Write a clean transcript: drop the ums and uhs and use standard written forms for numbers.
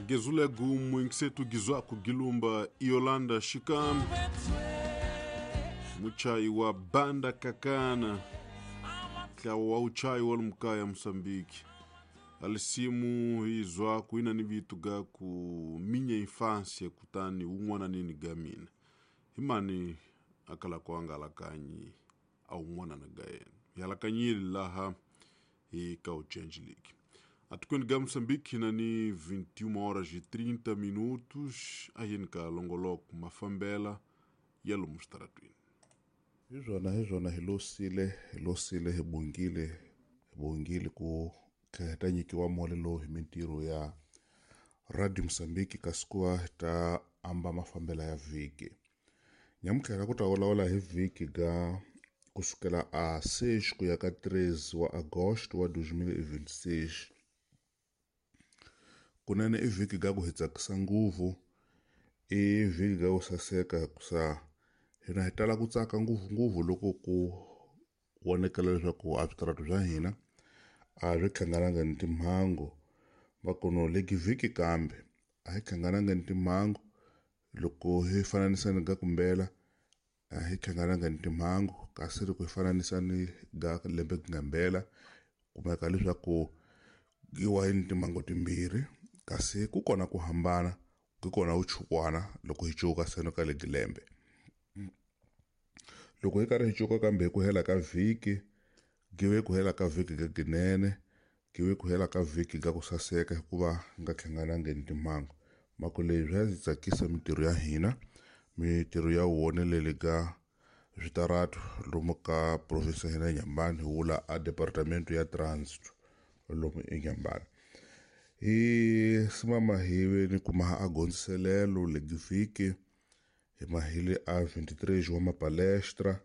Agezulegu muinkisetu gizwaku gilumba Yolanda Shikam muchai wa banda kakana tlawa wa uchai wa lumkaya Mosambiki alisimu izwaku ina ni vitu ga ku minha infância kutani un'wana nini ga mina himani akala kuangalakanyi au un'wana na ga yena yalakanyile laha hi ka Change League. Atukweni ga Moçambique nani 21 horas e 30 minutos ahini ka longoloko mafambela ya lomu xitaratwini. Hi swona hi losile hi bongile ku tlhela hi ta nyikiwa mole lowu hi mintirho ya Radio Mozambique, kasi ku va hi ta amba mafambela ya vhiki nyamutlha ku ta vulavula hi vhiki ga kusukela a 6 ku ya ka 13 wa agosto wa 2026. Kunene i vhiki ga ku hi tsakisa ngopfu, i vhiki ga ku saseka, hikusa hina hi tala ku tsaka ngopfungopfu loko ku vonekela leswaku a switaratu swa hina a swi hlangananga ni timhangu. Makono leki vhiki kambe a hi hlangananga ni timhangu loko hi fananisa ni ga kumbela, a hi hlangananga ni timhangu, kasi loko hi fananisa ni ga lembe ngambela kumeka leswaku giwa hi ni timhangu timbirhi, kasi ku kona ku hambana, ku kona vuchukwana loko hi cuka seno ka legi lembe. Loko hi karhi hi cuka kambe hi ku hela ka vhiki give ku hela ka vhiki ga ginene, give ku hela ka vhiki ga ku saseka hikuva nga hlanganangi ni timhangu. Mako leyi swa ndzi tsakisa mintirho ya hina, mintirho ya wonelele ga switaratu lomu ka province ya hina ya Nyambani, hi vula a departamento ya transit lomu eNyambani. Hi simama hi ve ni kuma a gondziselelo legi vhiki hi mahile a 23 wa mapalestra.